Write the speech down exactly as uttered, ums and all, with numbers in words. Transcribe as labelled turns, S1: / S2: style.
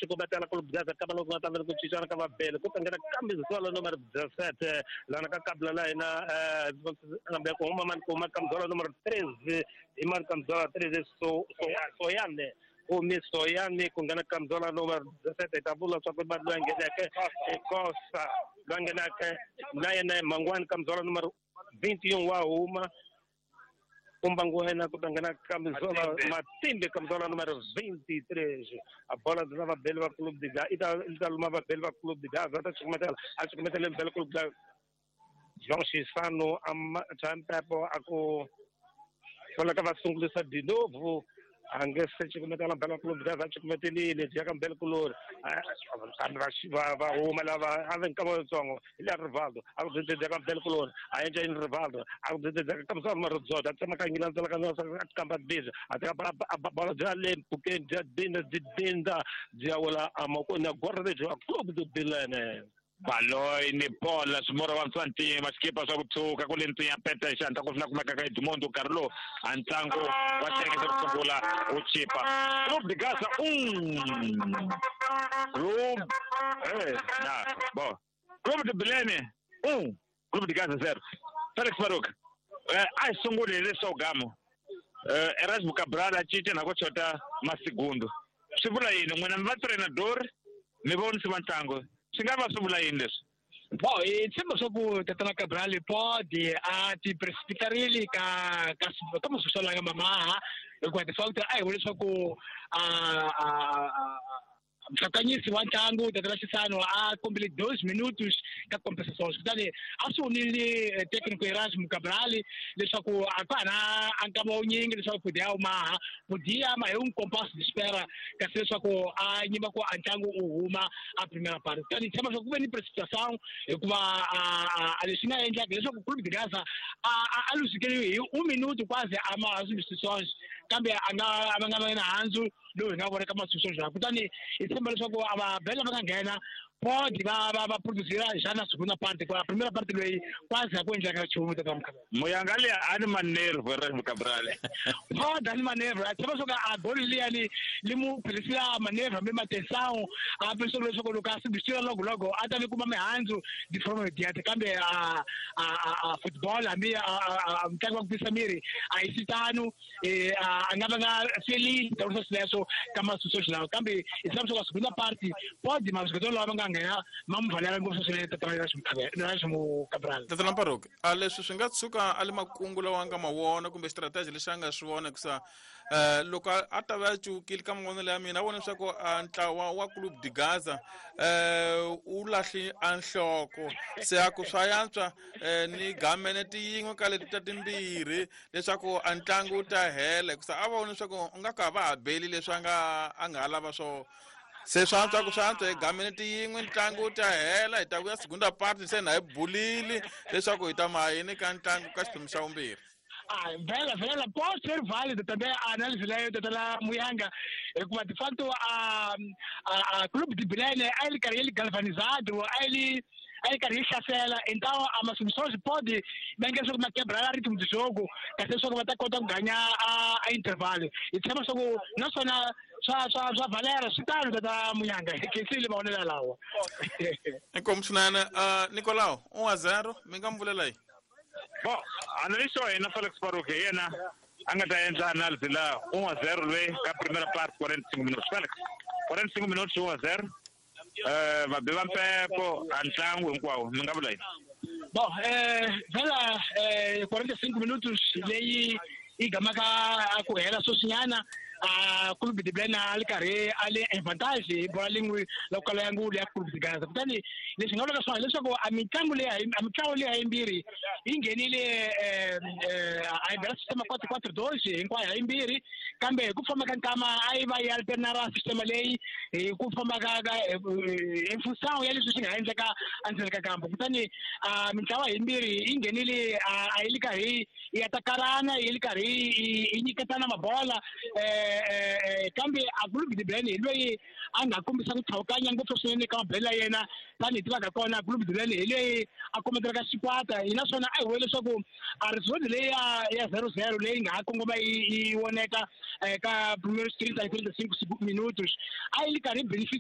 S1: Cukumetela Clube de Gaza kama loko nga ta ku cincana ka vabeli ku ta nghena camisola número dezessete lana ka kabla la hina nambe ku huma mani ku huma camisola número treze hi mani camisola treze so so Soyane humi Soyane ku nghena camisola número dezessete hi ta vula swa ku mani loyi a ngheneke i Kosa loyi a ngheneke na yena Mangwani camisola número vinte e um wa huma Kumbanguena ku ta nghena camisola Matimbe camisola número vinte e três a bola de vabeli va Clube de Gaza i ta i ta luma vabeli va Clube de Gaza ta cukumetela a cukumetele mbele Clube de João Chissano a Champepo a ku soleka va sungulisa de novo a nge se cukumetela mbele Clube de Gaza a cukumetelile byi ya ka mbele kulori kambe va va huma lava a ve nkama wutsongo hi le Rivaldo a ku byi ka mbele kulori a endla yini Rivaldo a ku byi ka camisola número dezoito a tsemakanyile a tselakanya a kamba biza a teka bola bya le mpfhukeni bya dinda byi dinda byi ya wela emavokweni ya guarda-redes wa Clube de Bilene.
S2: Baloyi ni bola swimoro va swa ntima xikipa swa ku tshuka ku le ntsinya peta hi xihatla ku swi na kumeka ka Edmundo nkarhi lowu a ntlangu wa xiyenge xa ku sungula wu chipa Clube de Gaza um Clube eh na bo Clube de Bilene um Clube de Gaza zero. Felix Baruk eh a hi sunguli hi leswaku gamo eh Erasmo Cabral a cinca na ku chota masigundo swi vula yini n'wina mi va treinador mi vonisi va ntlangu swi nga va swi vula yini leswi?
S3: Bom, hi tshemba swa ku Tatana Cabral pode a ti precipitarile ka ka ka masuso langa mamaha hikuva de facto a hi vule leswaku a a mhlakanyisi wa ntlangu Tatana Chissano a kombile dois minutos ka compensações kutani a swi vonile técnico Erasmo Cabral leswaku a ka ha na a nkama wunyingi leswaku podia maha podia ma hi um compasso de espera kasi leswaku a nyima ku a ntlangu u huma a primeira parte kutani tshemba leswaku ku ve ni precipitação hikuva a leswi nga endlaka leswaku Clube de Gaza a a luzekeriwe hi um minuto quase a ma substituições kambe a nga a nga va na handzu lowu hi nga vona ka masubstituições kutani hi tshemba leswaku a va bela va nga nghena pode va va va produzira já na segunda parte a primeira parte loyi quase a ku endleka nchumu tata Mukhabela
S2: Muyanga liya a ni manervo Erasmo Cabral
S3: pode a ni manervo a tshemba leswaku a goli liyani li mu phelisela manervo hambi matensão a pensou leswaku loko a substituir logo logo a ta vi kuma mihandzu de forma imediata kambe a a a football hambi a mutlangi wa ku tisa miri a hi sitano a nga va nga feliz ta sweswo ka masubstituições lawa kambe hi tshemba leswaku a segunda parte pode masubstituições lawa va nga nghena ma mu valela ngopfu swinene Tatana Erasmo Cabral.
S4: Tatana Baruk a leswi swi nga tshuka a le makungu lawa a nga ma vona kumbe strategy lexi a nga swi vona hikusa um loko a ta va a cukile ka mavonelo ya mina a vona leswaku a ntlawa wa Clube de Gaza um wu lahli a nhloko se a ku swa yantswa um ni gamene tiyin'we ka leti ta timbirhi leswaku a ntlangu wu ta hela hikusa a vona leswaku u nga ka va ha beli leswi a nga a nga ha lava swona se swa antswa ku swa antswa hi gamene tiyin'we ntlangu wu ta hela hi ta vuya segunda parte se na hi bulile leswaku hi ta ma yini ka ntlangu ka xiphemu xa vumbirhi.
S3: Ah, vela vela pode ser válido também a análise leyo Tatana Muyanga hikuva de facto a a a Clube de Bilene a ele karhi ele galvanizado a ele a ele karhi yi hlasela então a masubstituições pode bem que ma quebrar ritmo de jogo kasi leswaku va ta kota ku ganha a a intervalo hi tshemba leswaku naswona swa swa swa valera swi tano Tata Muyanga khensile mavonelo lawa.
S4: Inkomu swinene uh, Nicolau um a zero mi nga mi vulela yini?
S2: Bo analyst wa hina Felix Baruk hi yena a nga ta endla analysis la um a zero loyi ka primera parte quarenta e cinco minutos Felix quarenta e cinco minutos um a zero eh vabi va mpepo a ntlangu hinkwawo mi nga vula yini?
S3: Bom, eh vela eh quarenta e cinco minutos leyi yi gamaka a ku hela sweswinyana a Clube de Bilene a li karhi a le en vantagem hi bola lin'we loko kala ya ngulu ya Clube de Gaza kutani leswi nga vulaka swona hileswaku a mitlangu leyi a mitlangu leyi yimbirhi yi nghenile eh a yi bela sistema quatro quatro dois hinkwayo ha yimbirhi kambe hi ku famba ka nkama a yi va yi alternara sistema leyi hi ku famba ka ka em função ya leswi swi nga endleka endzeni ka kampo kutani a mitlawa yimbirhi yi nghenile a yi li karhi yi atakarana yi li karhi yi nyiketana mabola eh kambe a Clube de Bilene hi loyi a nga kombisa ku tlhawukanya ngopfu swinene ka mabele ya yena tanihi tivaka kona Clube de Bilene hi leyi a kombetelaka xikwata hi naswona a hi vule leswaku a result leyi ya ya zero zero leyi nga ha kongoma yi voneka ka primeiros trinta e trinta e cinco minutos a yi li karhi beneficia